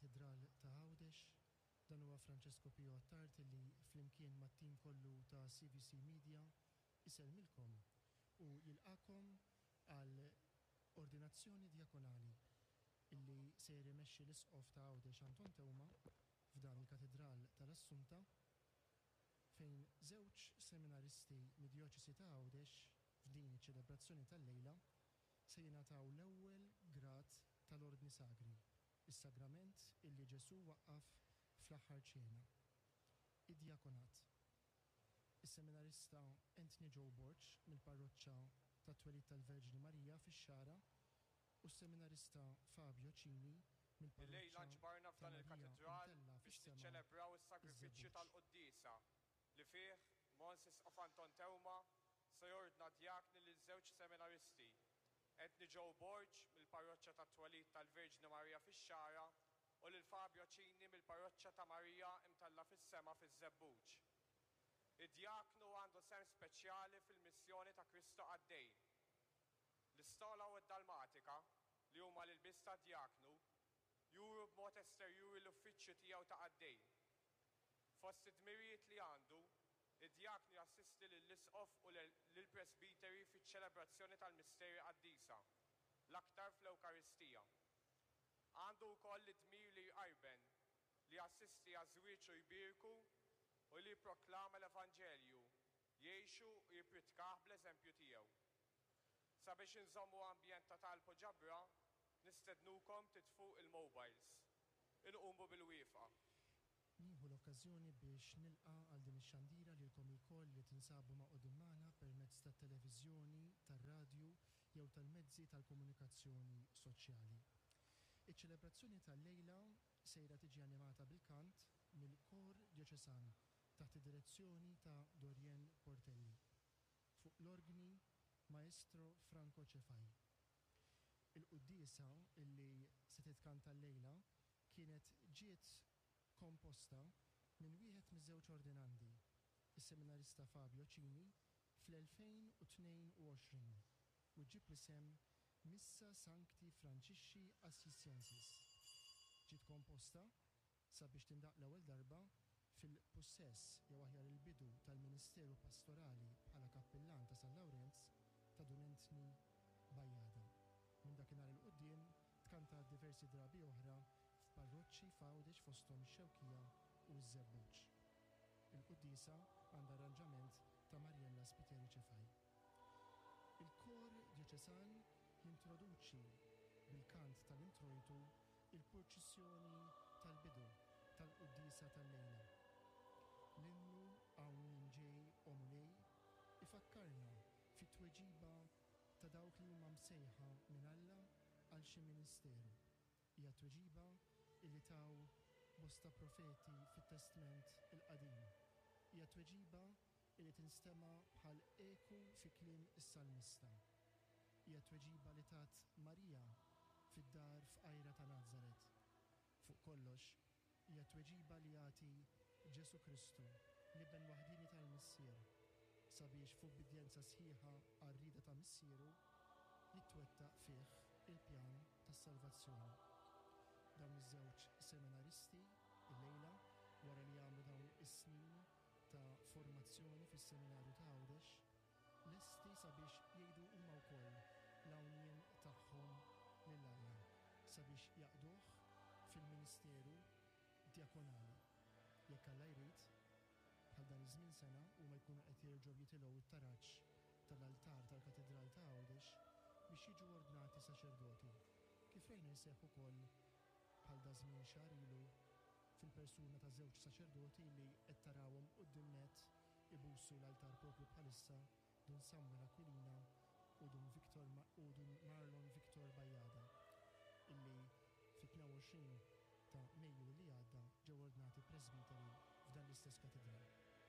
mill-Katidral ta' Għawdex. Dan huwa Francesco Pio Attard li flimkien mat-tim kollu ta' CVC Media isellmilkom u jilqagħkom għal Ordinazzjoni Djakonali illi sejjer imexxi l-Isqof ta' Għawdex Anton Teuma f'dan il-Katidral tal-Assunta fejn żewġ seminaristi mid-Djoċesi ta' Għawdex f'din iċ-ċelebrazzjoni tal-lejla se jingħataw l-ewwel grad tal-Ordni Sagri, is-sagrament illi Ġesù waqqaf fl-Aħħar Ċena, id-djakonat. Is-seminarista Anthony Joe Borg mill-Parroċċa tat-Twelid tal-Verġni Marija fix-Xagħra u s-seminarista Fabio Cini Illejla mill-Parroċċa nġbarna ta' f'dan Marija il-Katidral Imtellgħa biex fis-Sema niċċelebraw is-sagrifiċċju iż-Żebbuġ. tal-Quddiesa li fih Mons Isqof Anton Teuma se jordna djakni lil żewġ seminaristi, Anthony Joe Borg mill-Parroċċa tat-Twelid tal-Verġni Marija fix-Xagħra u lil Fabio Cini mill-Parroċċa ta' Marija Imtellgħa fis-Sema fiż-Żebbuġ. Id-djaknu għandu sehem speċjali fil-missjoni ta' Kristu Qaddej. L-istola u d-dalmatika, li huma l-ilbies tad-djaknu, juru b'mod esterjuri l-uffiċċju tiegħu ta' qaddej. Fost id-dmirijiet li għandu, id-djaknu jassisti lill-isqof u lill-presbiteri fiċ-ċelebrazzjoni tal-misteri qaddisa, l-aktar fl-Ewkaristija. Għandu wkoll id-dmir li jqarben, li jassisti għaż-żwieġ u jbierku, u li jipproklama l-Evanġelju, jgħixu u jippritkah bl-eżempju tiegħu. Sabiex inżommu ambjent ta' talb u ġabra, nistednukom titfu il-mobiles. Inqumu bil-wieqfa. Nieħu l-okkażjoni biex nilqa' għal din ix-xandira lilkom ilkoll li tinsabu magħqudin magħna permezz tat-televiżjoni, tar-radju jew tal-mezzi tal-komunikazzjoni soċjali. Iċ-ċelebrazzjoni tal-lejla sejra tiġi animata bil-kant mill-Kor Djoċesan taħt id-direzzjoni ta' Dorienne Portelli. Fuq l-orgni Maestro Franco Cefai. Il-quddiesa illi se titkanta llejla kienet ġiet komposta minn wieħed miż-żewġ ordinandi, is-seminarista Fabio Cini, fl-2022 u ġġib l-isem Missa Sancti Francisci Assisiensis. Ġiet komposta sabiex tindaqq l-ewwel darba fil-pussess jew aħjar il-bidu tal-ministeru pastorali bħala kappillan ta' San Lawrenz ta' Dun Anthony Bajada. Minn dakinhar 'il quddiem tkantat diversi drabi oħra f'parroċċi f'Għawdex fosthom ix-Xewkija u ż-Żebbuġ. Il-quddiesa għandha arranġament ta' Mariella Spiteri Cefai. Il-Kor Djoċesan jintroduċi bil-kant tal-introjtu il-purċissjoni tal-bidu tal-quddiesa tal-lejla. L-innu Hawn Jien Ġej O Mulej ifakkarna fit-tweġiba ta' dawk li huma msejħa minn Alla għal xi ministeru. Hija tweġiba illi taw bosta profeti fit-Testment il-Qadim. Hija tweġiba illi tinstema' bħal eku fi kliem is-salmista. Hija tweġiba li tat Marija fid-dar fqajra ta' Nazaret. Fuq kollox, hija tweġiba li jagħti Ġesù Kristu, l-Iben waħdieni tal-Missier, sabiex f'ubbidjenza sħiħa għar-rieda ta' Missieru, jitwettaq fih il-pjan tas-salvazzjoni. Dawn iż-żewġ seminaristi, illejla, wara li għamlu dawn is-snin ta' formazzjoni fis-Seminarju ta' Għawdex, lesti sabiex jgħidu huma wkoll l-hawn-jien tagħhom lil Alla, sabiex jaqduh fil-ministeru djakonali. Jekk Alla jrid, bħal dan iż-żmien sena huma jkunu qed jerġgħu jitilgħu t-taraġ tal-altar tal-Katidral ta' Għawdex biex jiġu ordnati saċerdoti, kif rajna jseħħ ukoll bħal daż-żmien xahar ilu fil-persuna ta' żewġ saċerdoti li qed tarawhom quddiem nett ibusu l-altar propju bħalissa, Dun Samuel Aquilina u Dun Victor u Dun Marlon Victor Bajada, illi fit-22 ta' Mejju li għadda ġew ordnati presbiteri f'dan l-istess katidral.